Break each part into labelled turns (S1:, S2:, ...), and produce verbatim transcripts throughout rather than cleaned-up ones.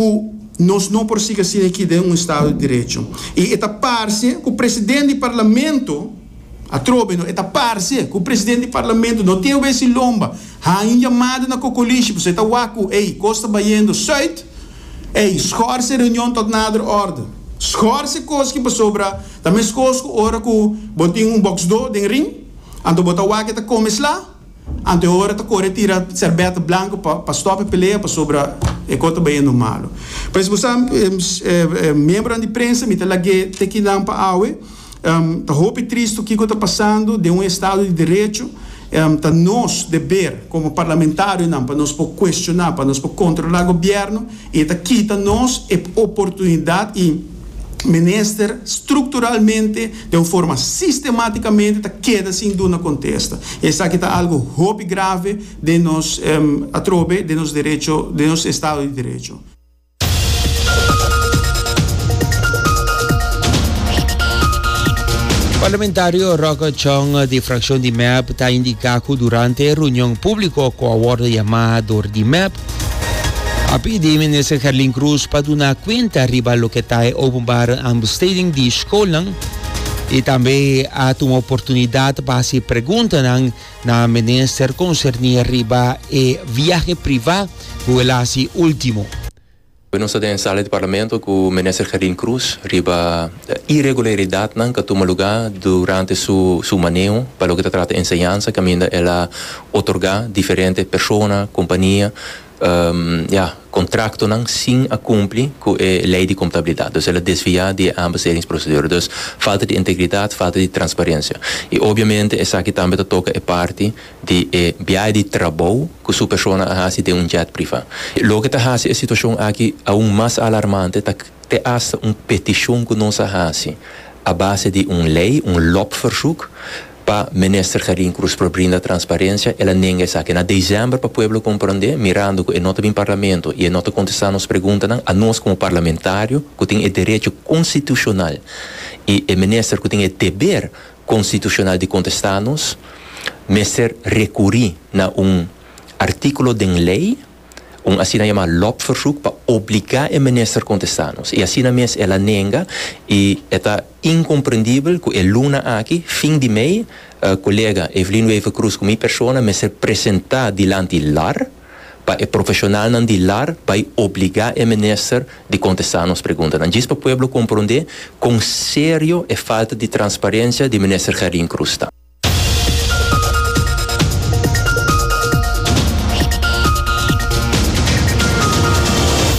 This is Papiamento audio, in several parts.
S1: Ku nos no por sigui asina aki den un estado di derecho. I e ta parse ku presidente di parlamento, atrobe no, e ta parse ku presidente di parlamento no tin wes'i lomba, haña un yamada na kokolishi, pasobra e ta wak ku, ey, kos ta bayendo sùit, ey, schors e reunion tot nader orde. Schors e kos ki pasobra ta meskos ku ora ku bo tin un bòksdó den ring, anto bo ta wak e ta kome sla, anto e ora ta kore tira sèrbèta blanku pa pa stòp e pelea pasobra e kos ta bayendo malu. Pues bo sa, miembronan di prensa, mi ta lag'é te kinan pa awe. Ta hopi tristu kiko ta pasando den un estado di derecho. Ta nos deber komo parlamentarionan pa nos por kuestioná, pa nos por kontrolá gobièrnu i e ta kita nos e oportunidat i minister strukturalmente, den un forma sistemátikamente ta keda sin duna kontesta. Esaki ta algu hopi grave den nos, atrobe, den nos derecho, den nos estado di derecho.
S2: Parlamentario Rocco Chong di frakshon di mep ta indiká ku durante e reunion públiko ku a wòrdu yamá dor di mep, a pidi Minister Gerlin Cruz pa duna kuenta riba loke ta e openbare aanbesteding di skolnan i tambe a tuma oportunidat pa hasi preguntanan na Minister konserní riba e viahe privá ku el a hasi último.
S3: Nos ta den sala di Parlamento ku Minister Gerlin Cruz riba iregularidatnan ku a tuma lugá durante su su maneho pa loke ta trata enseñansa kaminda el a otorgá diferente persona, kompania, ya, kontraktonan sin a kumpli ku e lei di kontabilidat. Dus el a desviá di e aanbestedingsprocedure. Dus falta di integridat, falta di transparensia. I obviamente esaki tambe ta toka e parti di e biahe di trabou ku su persona a hasi den un jet privá. Loke ta hasi e situashon aki aun mas alarmante ta te asta un petishon ku nos a hasi a base di un lei, un lobverzoek, Pa Minister Gerlin Cruz por brinda transparencia, el a nenga esaki. Na december pa pueblo comprende, mirando cu e no ta bin Parlamento y e no ta contesta nos preguntanan, anos como parlamentario cu tin e derecho constitucional y e Minister cu tin e deber constitucional di contesta nos, mester recuri na un articulo den ley, un asina yama lobverzoek pa obliga e minister contesta nos. Y asina mes el a nenga y e ta incomprendibel cu e luna aki, fin di mei, colega Evelyn Wever-Croes cu mi persona mester presenta dilanti lar pa e profesionalnan di lar bay obliga e minister di contesta nos preguntanan. Djis pa pueblo compronde con serio e falta di transparencia di minister Gerlin Croes ta.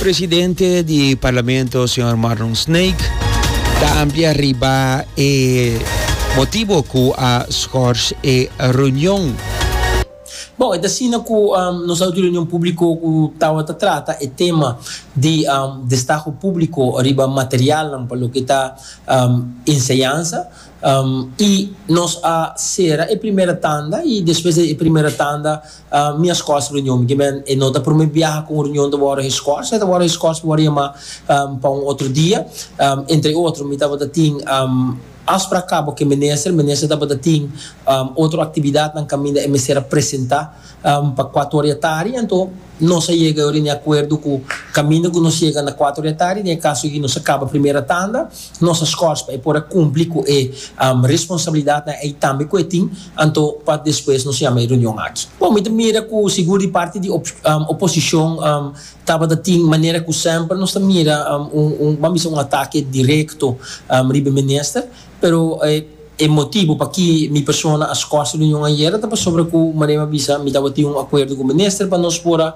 S2: Presidente di Parlamento señor Marlon Snake ta amplia riba e motibo cu a schors e reunion.
S4: Bon, e ta asina cu nos a haci reunion publico cu tawata trata e tema di destaho publico riba materialnan pa loke ta enseñansa. I nos a sera e primera tanda i despues di e primera tanda mi a skòrs reunion. Mi ke men e no ta prome biaha ku un reunion ta wòrdu geskòrs, e ta wòrdu geskòrs pa wòrdu yamá pa un otro dia. Entre otro mi tabata tin afsprak kaba ku e minister, minister tabata tin otro aktividatnan kaminda e mester a presentá pa kuater ora di atari. Anto nos a yega ora di akuerdo ku kaminda ku nos yega na kuater ora di atari, den e kaso aki nos a kaba primera tanda, nos a skòrs pa e por a kumpli ku e responsabilidatnan ei tambe ku e tin, anto pa despues nos yama e reunion aki. Bon, mi ta mira ku sigur di parti di oposishon tabata tin manera ku semper nos ta mira un, un, ban bisa un atake direkto riba e minister, pero e. E motibu paki mi persona a skòrs reunion ayera ta pasobra ku manera mi a bisa mi tabatin un akuerdo ku minister pa nos por a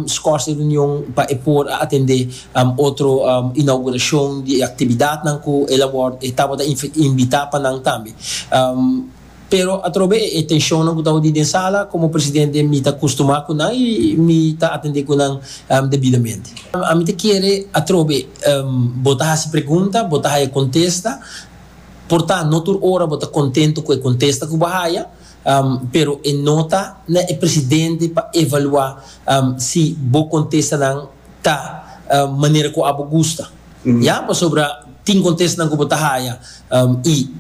S4: skòrs e reunion pa e por a atendé otro inaugurashon di e aktividatnan ku el a wòrdu e tabata invitá pa nan tambe. Pero atrobe e tenshonnan ku tabatin den sala komo presidente mi ta kustumá ku nan i mi ta atendé ku nan debidamente. Ami ta kere atrobe bo ta hasi pregunta, bo ta haya kontesta. Por ta no tur ora bo ta contento cu e contesta cu bo haya, pero e no ta na e presidente pa evalua si bo contestanan ta manera cu abo gusta. Ya, pasobra tin contestanan cu bo ta haya y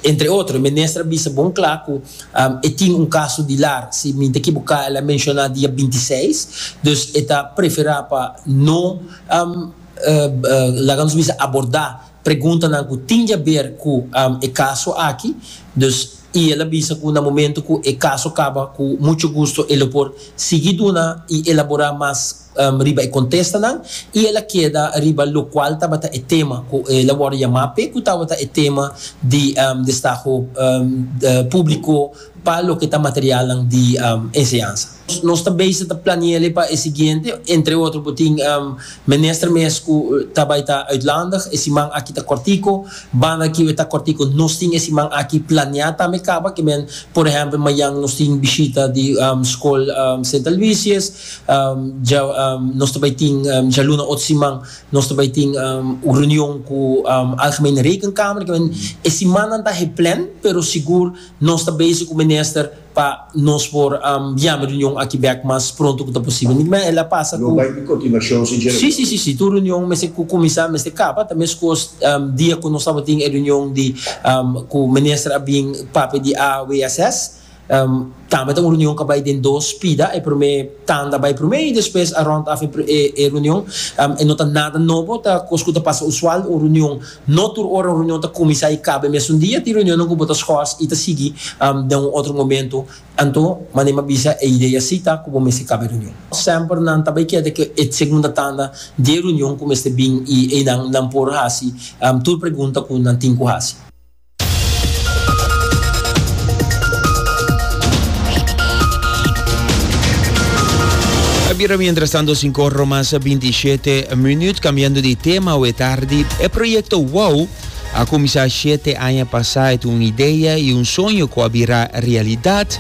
S4: Entre otro, minister a bisa bon kla ku um, e tin un kaso di LAR, si mi ta ekivoká, el a menshoná dia bintiseis, dus e ta preferá pa no um, uh, uh, laga nos bisa abordá preguntanan ku tin di aber ku um, e kaso aki, dus i el a bisa ku na momento ku e kaso kaba, ku mucho gusto e por sigui duna i elaborá mas um, riba e kontestanan, i el a keda riba lokual tabata e tema ku el a wòrdu yamá pe, ku tabata e tema di um, destaho um, de públiko pa loke ta material di um, enseñansa. Nos ta bezig ta plania pa e siguiente, entre otro, bo tin um, minister mes ku ta bai ta uitlandig, e siman aki ta kòrtiku, banda ku ta kòrtiku, nos tin e siman aki plania tambe kaba, ke men, por ehèmpel, mañan nos tin bishita di um, skol um, Sint Aloysius, um, ja, um, nos tambe tin um, djaluna otro siman, nos tambe tin um, un reunion ku um, Algemene Rekenkamer, ke men, e siman ta gepland, pero sigur nos ta bezig ku minister pa nos por um, yama reunion aki bèk mas pronto ku posibel. Ma el a pasa
S5: No
S4: ku
S5: bai kontinuashon, sinseramente.
S4: Si, si, si, si. Tur reunion mester kuminsá, mester kaba. Tambe kos um, dia ku nos tabatin reunion di um, ku minister a bin papia di A W S S. Um, tambe un reunion ku a bai den dos pida, e promé tanda a bai promé i despues a rond af e, e reunion um, e no ta nada nobo, ta kos ku ta pasa usual. Un reunion, no tur ora un reunion ta kuminsá i kaba mesun dia, tin reunion ku bo ta schors i ta sigui um, den un otro momento. Anto, manera m'a bisa, e idea si ta ku mester kaba reunion. Semper nan ta bai keda ku e segunda tanda di reunion ku mester bin i e nan nan por hasi um, tur pregunta ku nan tin ku hasi.
S2: Bira mientras tanto sinku mas bintishete minüt. Kambiando di tema, awe tardi, e proyekto WOW a kuminsá shete aña pasá, un idea i un soño ku a bira realidat.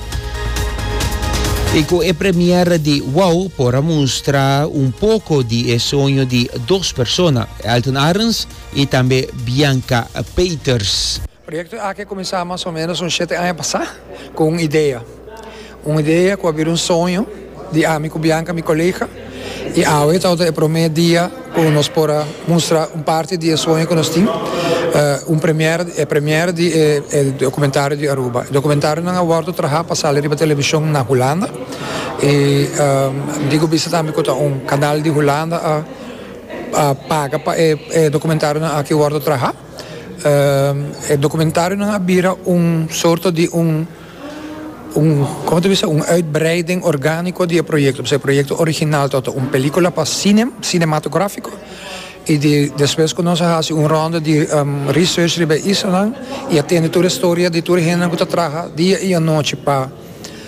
S2: I ku e premiere di WOW por a mustra un poko di e soño di dos persona, Elton Arens i tambe Bianca Peters.
S6: E proyekto aki a kuminsá mas o ménos un shete aña pasá ku un idea. Un idea ku a bira un soño di ami ku Bianca, mi kolega. I awe ta e promé dia ku nos por a mustra un parti di e soño ku nos tin. Uh, un premiere, e premiere di eh, e dokumentario di Aruba. E dokumentarionan a wòrdu trahá pa sali riba televishon na Hulanda. I um, digo bisa tambe ku un kanal di Hulanda a, a paga pa e, e dokumentarionan aki wòrdu trahá. Um, e dokumentarionan a bira un sorto di un un, kon ta bisa, un uitbreiding orgániko di e proyekto. E proyekto original ta un pelíkula pa sine, sinematográfiko. I di, despues ku nos a hasi un ronda di um, research riba islanan i a tende tur historia di tur hende ku ta traha dia i anochi pa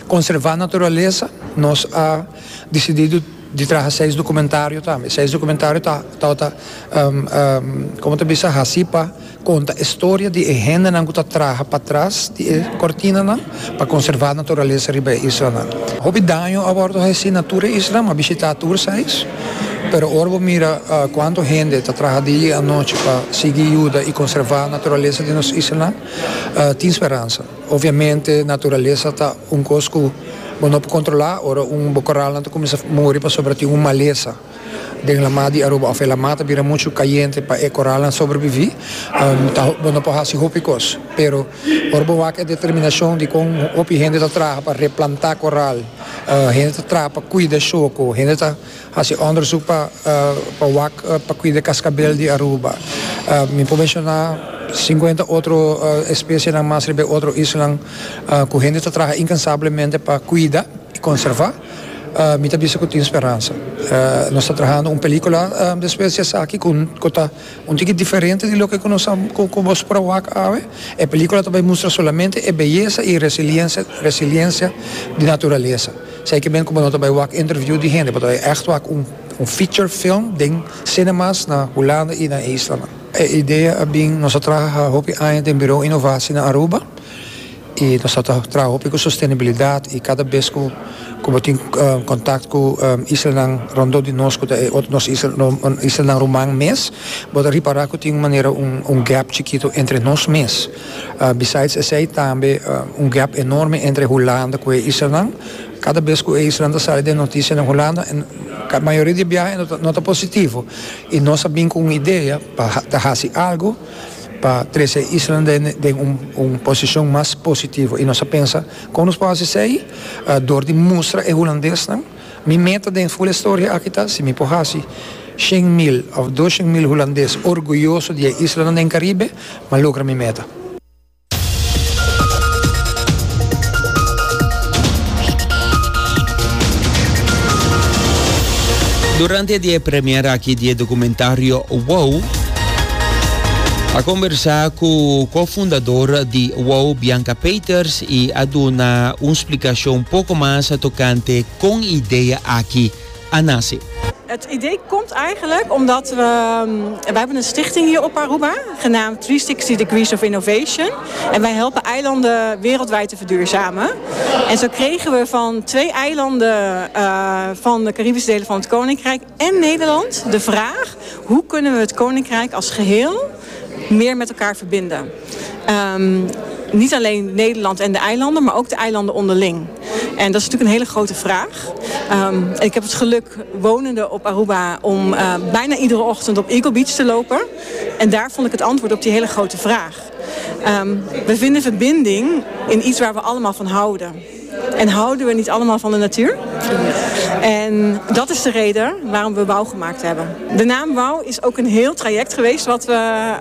S6: konservá naturalesa, nos a disidí di traha seis dokumentario tambe. Seis dokumentario ta ta ta um, um, kon ta bisa, hasi pa konta historia di hendenan ku ta traha patras di kortinanan pa konservá naturalesa riba islanan. Hopi daño a wòrdu hasí na tur isla, m'a bishitá tur seis. Pero ora bo mira uh, kuantu hende ta traha dia i anochi pa sigui yuda i konservá naturalesa di nos isla, uh, tin speransa. Obviamente, naturalesa ta un kos ku bo no por kontrolá, ora un koral ta kuminsá muri pasobra tin un malesa den laman di Aruba, òf e laman ta bira muchu kayente pa e koral sobreviví, um, ta, bo no por hasi hopi kos. Pero ora bo wak e determinashon di kon hopi hende ta traha pa replantá koral, uh, hende ta traha pa kuida shoko, hende ta hasi onderzoek pa uh, pa wak uh, pa kuida kaskabel di Aruba. Uh, mi por menshoná sinkuenta otro uh, espesienan mas riba otro islanan uh, ku hende ta traha inkansablemente pa kuida i konservá. Uh, mi ta bisa ku tin speransa. Uh, nos ta trahando un pelíkula um, despues di esaki ku ku ta un tiki diferente di loke ku nos ku ku bo por wak awe. E pelíkula tambe ta mustra solamente e beyesa i resiliensia resiliensia di naturalesa. Esei ke men ku no tambe wak interview di hende, ma echt wak un un feature film den cinemas na Hulanda i na islanan. E idea a bin, nos a traha hopi aña den Bureau Innovatie na Aruba i nos a traha hopi ku sostenibilidat, i kada bes ku ku bo tin uh, kontakto ku um, islanan rondó di nos, ku nos isla, islanan ruman mes, bo ta ripará ku tin un manera un, un gap chikitu entre nos mes. Uh, besides esei tambe uh, un gap enorme entre Hulanda ku e islanan. Kada bes ku e isla ta sali den notisia na Hulanda, e mayoria di biaha no ta positivo. I nos a bin ku un idea pa hasi algu. Pa trese e isla den, den un, un posishon mas positivo. I nos a pensa, kon nos por hasi, uh, dor di mustra e hulandesnan. Mi meta den full historia aki ta, si mi por hasi shen mil òf doshen mil hulandes orguyoso di e isla den Karibe, m'a logra mi meta.
S2: Durante e premiere aki di documentario Wow, a kombersá ku kofundadó di Wow, Bianca Peters, i a duna un splikashon poko mas tokante kon e idea aki a nase.
S5: Het idee komt eigenlijk omdat we... Wij hebben een stichting hier op Aruba, genaamd driehonderdzestig Degrees of Innovation. En wij helpen eilanden wereldwijd te verduurzamen. En zo kregen we van twee eilanden uh, van de Caribische delen van het Koninkrijk en Nederland de vraag: hoe kunnen we het Koninkrijk als geheel meer met elkaar verbinden? Um, niet alleen Nederland en de eilanden, maar ook de eilanden onderling. En dat is natuurlijk een hele grote vraag. Um, ik heb het geluk, wonende op Aruba, om uh, bijna iedere ochtend op Eagle Beach te lopen. En daar vond ik het antwoord op die hele grote vraag. Um, we vinden verbinding in iets waar we allemaal van houden. En houden we niet allemaal van de natuur? En dat is de reden waarom we WOW gemaakt hebben. De naam WOW is ook een heel traject geweest wat we,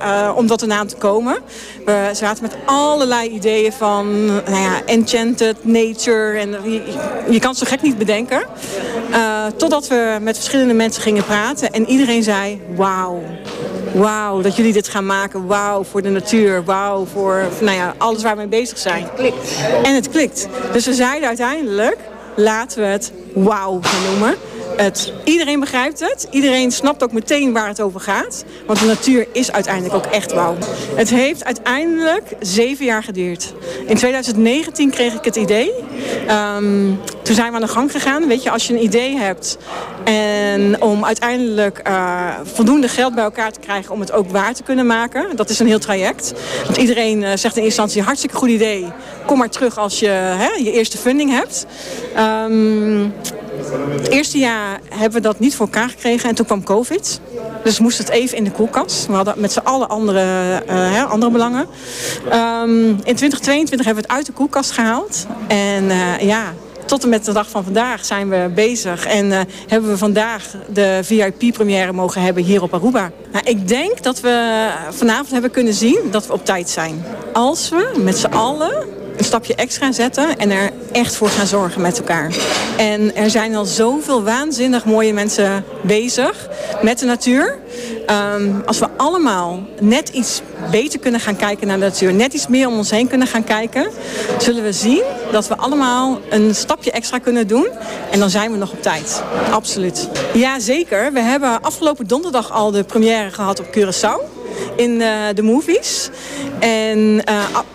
S5: uh, om tot de naam te komen. We zaten met allerlei ideeën van, nou ja, enchanted nature. En je, je kan het zo gek niet bedenken. Uh, totdat we met verschillende mensen gingen praten. En iedereen zei: wauw. Wauw, dat jullie dit gaan maken. Wauw, voor de natuur. Wauw, voor, nou ja, alles waar we mee bezig zijn.
S7: Het klikt.
S5: En het klikt. Dus we zeiden uiteindelijk: laten we het WOW gaan noemen. Het, iedereen begrijpt het. Iedereen snapt ook meteen waar het over gaat. Want de natuur is uiteindelijk ook echt wauw. Het heeft uiteindelijk zeven jaar geduurd. In tweeduizend negentien kreeg ik het idee. Um, toen zijn we aan de gang gegaan. Weet je, als je een idee hebt en om uiteindelijk uh, voldoende geld bij elkaar te krijgen om het ook waar te kunnen maken. Dat is een heel traject. Want iedereen uh, zegt in eerste instantie: hartstikke goed idee. Kom maar terug als je, hè, je eerste funding hebt. Um, het eerste jaar hebben we dat niet voor elkaar gekregen en toen kwam COVID. Dus moest het even in de koelkast. We hadden met z'n allen andere, uh, andere belangen. Um, in tweeduizend tweeëntwintig hebben we het uit de koelkast gehaald. En uh, ja, tot en met de dag van vandaag zijn we bezig. En uh, hebben we vandaag de V I P-première mogen hebben hier op Aruba. Nou, ik denk dat we vanavond hebben kunnen zien dat we op tijd zijn. Als we met z'n allen een stapje extra zetten en er echt voor gaan zorgen met elkaar. En er zijn al zoveel waanzinnig mooie mensen bezig met de natuur. Um, als we allemaal net iets beter kunnen gaan kijken naar de natuur, net iets meer om ons heen kunnen gaan kijken, zullen we zien dat we allemaal een stapje extra kunnen doen. En dan zijn we nog op tijd. Absoluut. Ja, zeker. We hebben afgelopen donderdag al de première gehad op Curaçao in uh, de movies. En uh,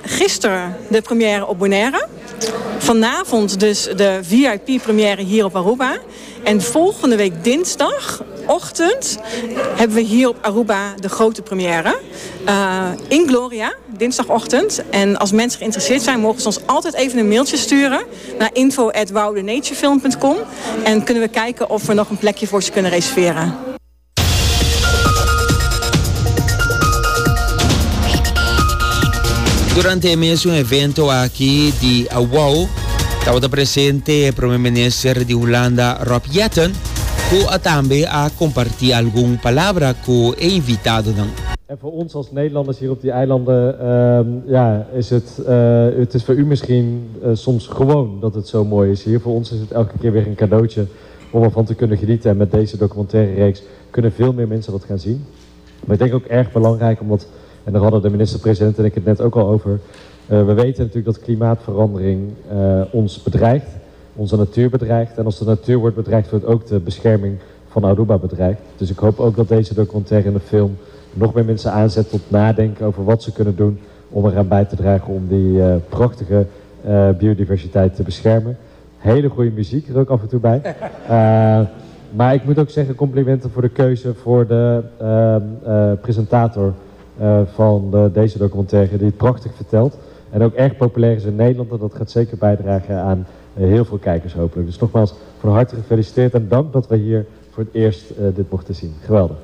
S5: gisteren de première op Bonaire. Vanavond dus de V I P-première hier op Aruba. En volgende week dinsdagochtend hebben we hier op Aruba de grote première. Uh, in Gloria, dinsdagochtend. En als mensen geïnteresseerd zijn, mogen ze ons altijd even een mailtje sturen naar info punt wowthenaturefilm punt com. En kunnen we kijken of we nog een plekje voor ze kunnen reserveren.
S2: Durante e mesun evento aki di WOW, tabata presente Promé Minister di Hulanda, Rob Jetten, ku tambe a kompartí algun palabra ku e invitadonan.
S8: En voor ons als Nederlanders hier op die eilanden, uh, ja, is het, uh, het is voor u misschien uh, soms gewoon dat het zo mooi is hier. Voor ons is het elke keer weer een cadeautje om ervan te kunnen genieten. En met deze documentaire reeks kunnen veel meer mensen dat gaan zien. Maar ik denk ook erg belangrijk, omdat, en daar hadden de minister-president en ik het net ook al over. Uh, we weten natuurlijk dat klimaatverandering uh, ons bedreigt, onze natuur bedreigt. En als de natuur wordt bedreigd, wordt ook de bescherming van Aruba bedreigd. Dus ik hoop ook dat deze documentaire en de film nog meer mensen aanzet tot nadenken over wat ze kunnen doen om eraan bij te dragen om die uh, prachtige uh, biodiversiteit te beschermen. Hele goede muziek er ook af en toe bij. Uh, maar ik moet ook zeggen, complimenten voor de keuze voor de presentator van de, deze documentaire, die het prachtig vertelt. En ook erg populair is in Nederland en dat gaat zeker bijdragen aan heel veel kijkers hopelijk. Dus nogmaals, van harte gefeliciteerd en dank dat we hier voor het eerst dit mochten zien. Geweldig.